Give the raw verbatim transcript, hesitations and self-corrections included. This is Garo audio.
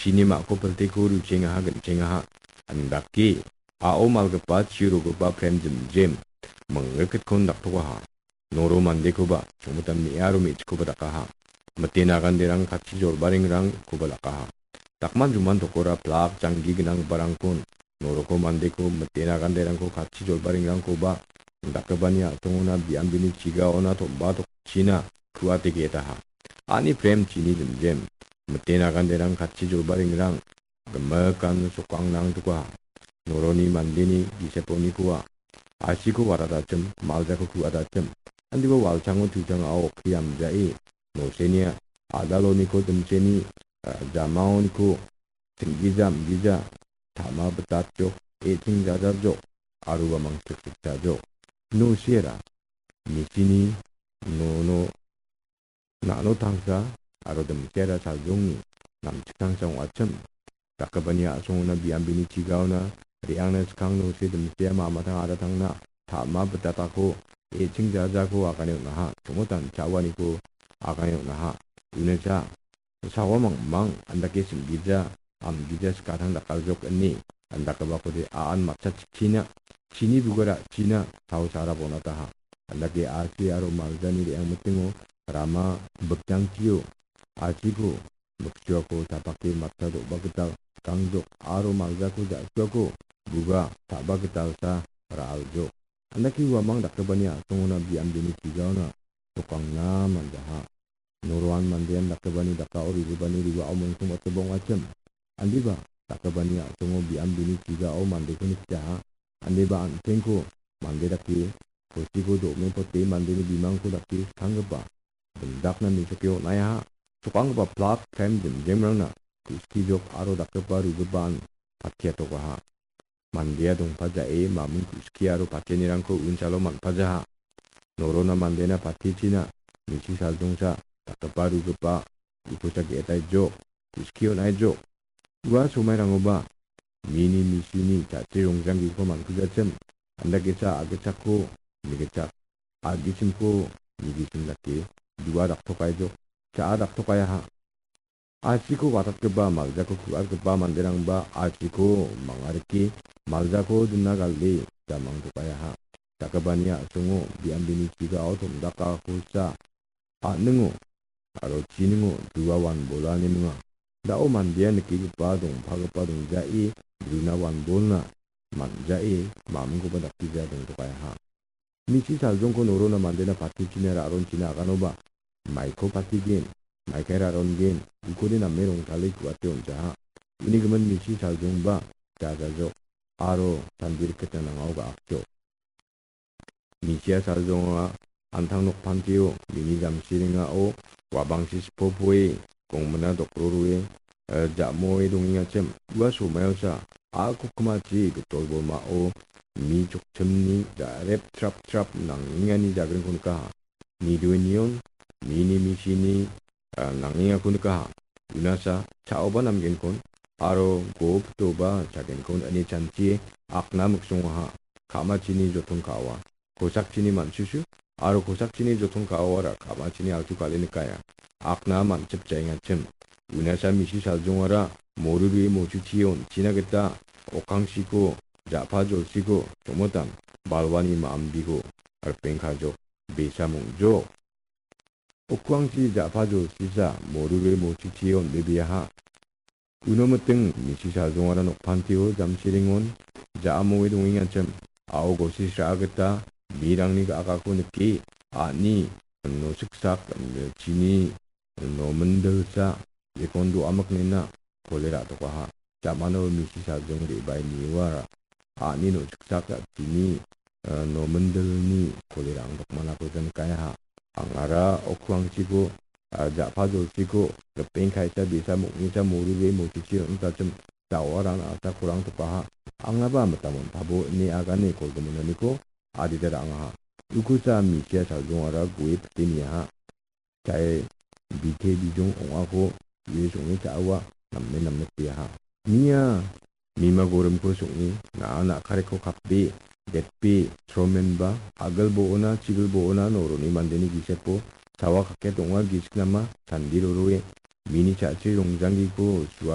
Chini ma·ko pilteko ruchengaha, ginchengaha. Andake a·o malgipa, chi rogipa prem jimjim mingrikkitko daktokaha. Noro mandekoba, chongmitan me·aro me·chikoba dakaha. Mite naganderang katchi jolbaringrangkoba dakaha. Dakman juman tokora plak janggi gnanggiparangkon, noroko mandeko mite naganderangko katchi jolbaringrangkoba, dakgipani a·songona biambini chigaona tomba tokchina ku·ate ge·etaha. Ani prem chini jimjim, mite naganderang katchi jolbaringrang, gimikan sokangnang dokaha. Noroni mandeni giseponikoa, a·chiko watatachim, maljako ku·atachim. Andiba walchango tuchangao okki amjae, nosenia, adaloniko dimseni, ah, jamaoniko, tinggija, amgija, tama bitatjok, e·ching jajajok, aro uamang siksikjajok. Nosiera, michini, nono, na·no tangsa, aro dimsiara saljongni, namchik tangsa ong·achim. Dakgipani a·songona biambini chigaona, re·angna skang nosi dimsia ma·matang adatangna, tama bitatako, e·ching jajako agane on·aha, chongotan cha·uaniko agane on·aha. Unacha, sawa mangmang, andake singgija, amgija skatang dakaljok ine, andakgipakode a·an matcha chikkina, chini bugara china, tao sara bonataha. Andake a·chi aro maljani re·angmitingo, rama bikjangchio, a·chiko, miksuako chapake matcha do·ba gital gangjok aro maljako ja·suako buga ta·ba gitalsa ra·aljok. Andake uamang dakgipani a·songona biambini chigaona sokangna manjaha. Noroan mandean dakgipani dakao rigipani riwao mongtong otobong achim. Andiba dakgipani a·songo biambini chigao mandeko nikjaha. Andiba an·chengko mande dake, kosiko do·me pote mandeni bimangko dake skanggipa. Indakna mesoke on·aiaha. Sokanggipa plak prem jemjemrangna ku·skijok aro dakgipa rugipaan patiatokaha. Mandea dongpajae maming ku·ski aro patenirangko unsalo man·pajaha. Norona mandena patichina misi saljongsa dakgipa rugipa ukosa ge·etaijok, ku·ski on·aijok. Ua somairangoba mini misini jatchi rongjanggiko man·kujachim, andakesa a·gitchakko nigitchak, a·gichimko nigichim dake dua daktokaijok, cha·a daktokayaha. A·chiko watatgipa, maljako ku·atgipa manderangba a·chiko mangariki, maljako dina gale jamang dokayaha. Dakgipani a·songo biambini chigao tomdakakosa a·ningo aro chiningo dua wanbolani minga. Da·o mandea nikigipa dongpagipa dongjae bruna wanbolna man·jae mamingkoba dakgija dongtokayaha. Misi saljongko norona mandena patichina ra·ronchina aganoba maiko patigen, maikai ra·rongen, ukode name rongtale ku·ate on·jaha. Uni gimin misi saljongba jajajok aro sandiriketna nangao ga·akjok. Misia saljonga antang nokpantio mini jamsiringao wabangsi sipopoe gongmina dokrorue, eh, ja·moe dongengachim. Ua somaiosa a·kukmachi gitolbolmao mi chokchimni ja·rep trap trap nangengani jagringko nikaha. Nidoenion mini misini ah, nangengako nikaha. Unasa cha·oba namgenkon aro go pitoba chagenkon ine chanchie akna miksongaha. Ka·machini joton ka·oa, kosakchini man·susu aro kosakchini joton ka·oara ka·machini altu kale nikaya. Akna man·sip jaengachim. Unasa misi saljongara morurue mochuchie on·china gita okkangchiko, ja·pa jolsiko, chongmotan balwani ma·ambiko ripengkajok, besa mong·jok. Okkuangchi ja·pa jolsisa morure mochichio on·bebeaha. Uno miting misi saljongara nokpantio jamsiringon ja·amoe dongengachim, a·o gosi sra·a gita mirangni ga·akako nike a·ni nosiksak chini nomindilsa jekon do·amiknina kole ra·tokaha. Jamano misi saljong re·bae niwara. A·ni nosiksak jatchini, eh, nomindilni kolerang dokmanako ja nikaha. Angara okkuangchiko, ah, ja·pa jolchiko, ripeng kaisa bisa moknisa morure mochichi on·tachim ja·oarang a·sa korang tokaha. Angaba mitamon pabo ine agane kolgiminaniko adita ra·angaha. Ukusa misia saljongara gue pite niaha. Chae bite bijong ong·ako ue song·e cha·awa namen namen peaha. Nia mima gorimko song·e na·a na·kareko kape, detpe, sromenba, agil bo·ona, chigil bo·ona noroni mandeni gisepo sawa kaket ong·a gisik nama sandi roroe mini cha·chri rongjanggiko sua